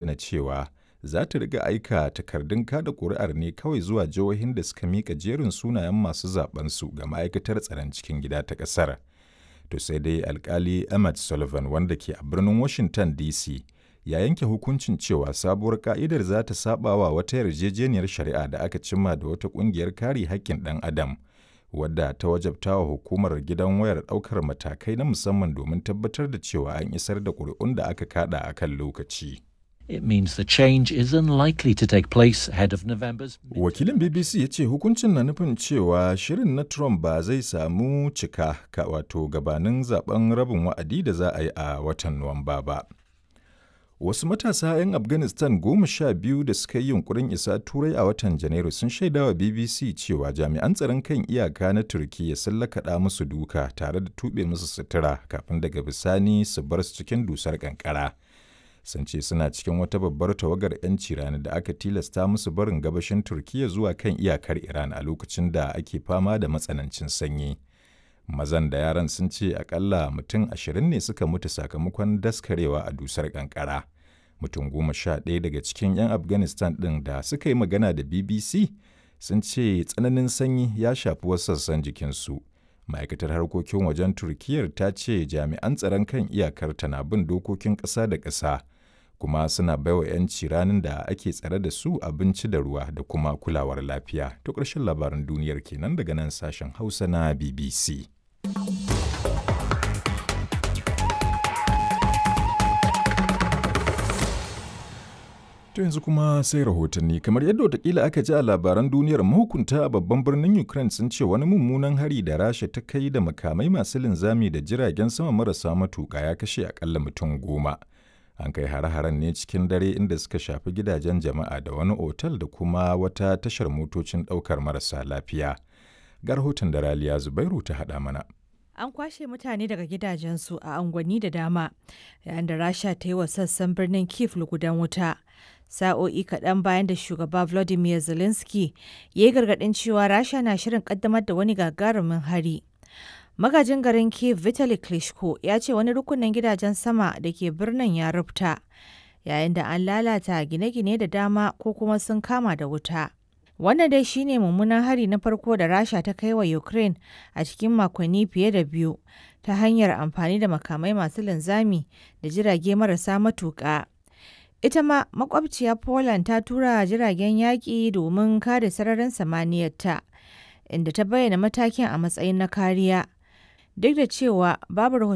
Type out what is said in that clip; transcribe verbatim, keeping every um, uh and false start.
Na cewa za ta riƙa aika takardun kaɗa kuri'ar ne kawai zuwa jihohin da suka miƙa jerin sunayen masu zaɓensu ga Ma'aikatar Tsaron Cikin Gida ta ƙasar. To sai dai Alkali Emmett Sullivan wanda ke a birnin Washington D C ya yanke hukuncin cewa sabuwar ƙa'idar za ta saɓawa wata yarjejeniyar shari'a da aka cimma da wata ƙungiyar kare haƙƙin ɗan adam wadda ta wajabtawa hukumar gidan wayar ɗaukar matakai na musamman domin tabbatar da cewa an isar da ƙuri'un da aka kaɗa a kan lokaci. It means the change is unlikely to take place ahead of November's. Wakilin B B C ya ce hukuncin na nufin cewa shirin na Trump ba zai samu cika ka wato gabanin zaben rabin wa'adi da za a yi a watan Nuwamba ba. Wasu matasa 'yan Afghanistan goma sha biyu da suka yi yunkurin isa Turai a watan Janairu sun shaidawa B B C cewa jami'an tsaron kan iyaka na Turkiyya sun lakaɗa musu duka tare da tuɓe musu sutura kafin daga bisani su bar su cikin dusar ƙanƙara. Sun ce suna cikin wata babbar tawagar 'yanci rani da aka tilasta musu barin gabashin Turkiyya zuwa kan iyakar Iran a lokacin da ake fama da matsanancin sanyi. Mazan da yaran sun ce akalla mutum ashirin ne suka mutu sakamakon daskarewa a dusar kankara. Mutum goma sha ɗaya daga cikin 'yan Afghanistan ɗin da suka yi magana da B B C sun ce tsananin sanyi ya shafi wasu sassan jikinsu. Ma'aikatar harkokin wajen Turkiyyar ta ce jami'an tsaron kan iyakar tana bin dokokin ƙasa da ƙasa kuma suna baiwa 'yanci ranin da ake tsare da su abinci da ruwa da kuma kulawar lafiya. To, ƙarshen labaran duniyar kenan daga nan sashen Hausa na B B C. To, yanzu kuma sai rahotanni. Kamar yadda watakila aka ji a labaran duniyar, mahukunta a babban birnin Ukraine sun ce wani mummunan hari da Rasha ta kai da makamai masu linzami da jiragen sama marasa matuƙa ya kashe akalla mutum goma. An kai hare-haren ne cikin dare inda suka shafi gidajen jama'a da wani otal da kuma wata tashar motocin ɗaukar marasa lafiya. Ga rahoton da Raliya Zubairu ta haɗa mana. An kwashe mutane daga gidajensu a unguwanni da dama yayin da Rasha ta yi wa sassan birnin Kiev lugudan wuta. Sa'o'i kaɗan bayan da shugaba Volodymyr Zelensky ya yi gargaɗin cewa Rasha na shirin ƙaddamar da wani gagarumin hari. Magajin garin Kiev Vitali Klitschko ya ce wani rukunin gidajen sama da ke birnin ya rubta, yayin da an lalata gine-gine da dama ko kuma sun kama da wuta. Wannan dai shine mummunan hari na farko da Rasha ta kai wa Ukraine a cikin makonni fiye da biyu ta hanyar amfani da makamai masu linzami da jirage marasa matuƙa. Ita ma makwabciya Poland ta tura jiragen yaƙi domin kare sararin samaniyarta, inda ta bayyana matakin a matsayin na kariya. Duk da cewa babu rahotanni